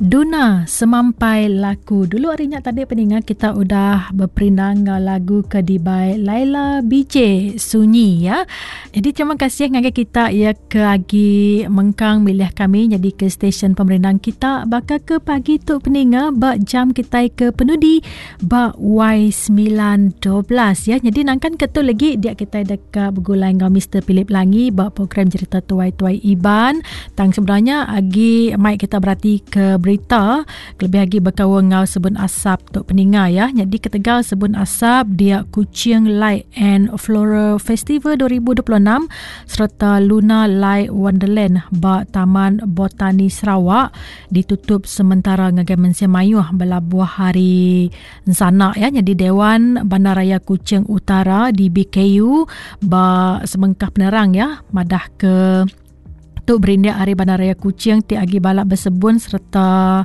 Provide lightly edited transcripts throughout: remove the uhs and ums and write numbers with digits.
Duna Semampai Laku. Dulu ari nya tadi peninga kita udah beperindang enggau lagu ke dibai Laila BJ Sunyi ya. Jadi terima kasih ngagai kita ya ke agi mengkang milih kami nyadi ke stesen pemerindang kita baka ke pagi tu peninga ba jam kitai ke penudi ba Y912 ya. Jadi nangkan ke tu lagi dia kitai deka begulai enggau Mister Philip Langi ba program Jerita Tuai-Tuai Iban. Tang sebenarnya agi mai kita berati ke berita kelebih agi bekaul enggau sebun asap tu peninga ya. Nyadi ketegal sebun asap dia Kuching Light and Floral Festival 2026 sereta Luna Light Wonderland ba Taman Botani Sarawak ditutup sementara ngagai mensia mayuh belabuh hari ensana ya. Nyadi Dewan Bandaraya Kuching Utara DBKU ba sebengkah penerang ya madah ke tu berindik ari Bandaraya Kuching ti agi balak besebun sereta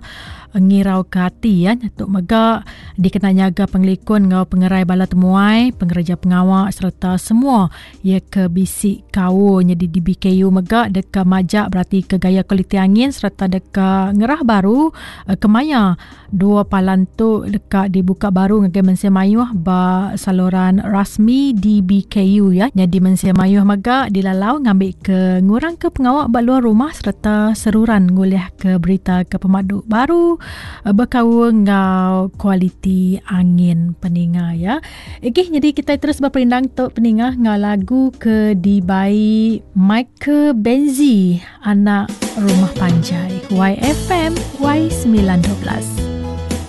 ngirau ke ati ya. Tu mega dikena nyaga pengelikun enggau pengerai bala temuai, pengereja pengawa sereta semua Iya ke bisi kaul nyadi DBKU mega deka majak beratika gaya kualiti angin sereta deka ngerah baru kemaya dua palan tu deka dibuka baru ngagai mensia mayuh ba saluran rasmi DBKU ya. Nyadi mensia mayuh mega dilalau ngambika ngurangka pengawa ba luar rumah sereta seruran ngulihka berita ke pemadu baru bekaul enggau kualiti angin peninga ya. Okey, jadi kita terus berperindang tu peninga ngau lagu ke dibai Michael Benzi anak rumah panjai YFM Y912.